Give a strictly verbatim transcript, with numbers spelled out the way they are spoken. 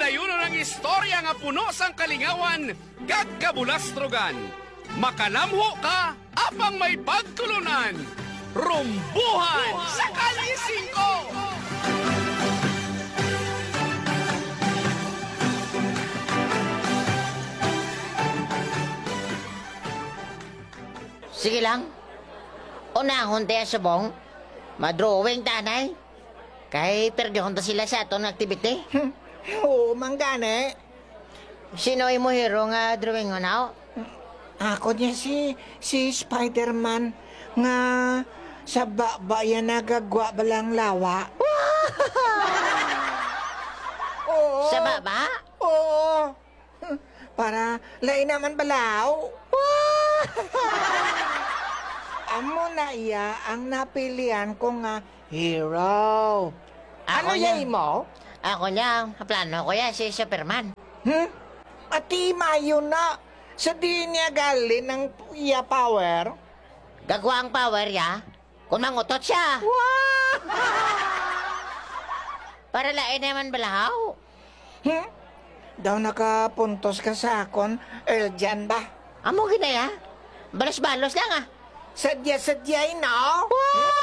Ayunon ang istorya nga puno sang kalingawan kag kabulastrogan. Makalamho ka apang may pagtulunan. Rumbuhan sa Kalye Singko! Sige lang. Unahon ta ya subong. Madrawing ta anay. Kay perdihon ta sila sa aton activity. Hmm. Oo, man gani. Sino imo hero nga drawing, Hunaw? Ako niya si, si Spider-Man nga sa baba yan nagagwa balang lawa. Oo. Sa baba? Oo. Para lain naman balaw. Amo na iya ang napilian ko nga hero. Ano Ako ya niya. imo? Ako niya, plano ko ya si Superman. Hmm? Ati mayo na. Sa di niya galin ang iya power? Gagwa ang power ya. Kung mangutot siya. Wow! Para lain naman balahaw. Hmm? Daw nakapuntos ka sa akon, Eljan ba? Amo ginaya. Balos-balos lang, ah. Sadya-sadyay, no? Wow!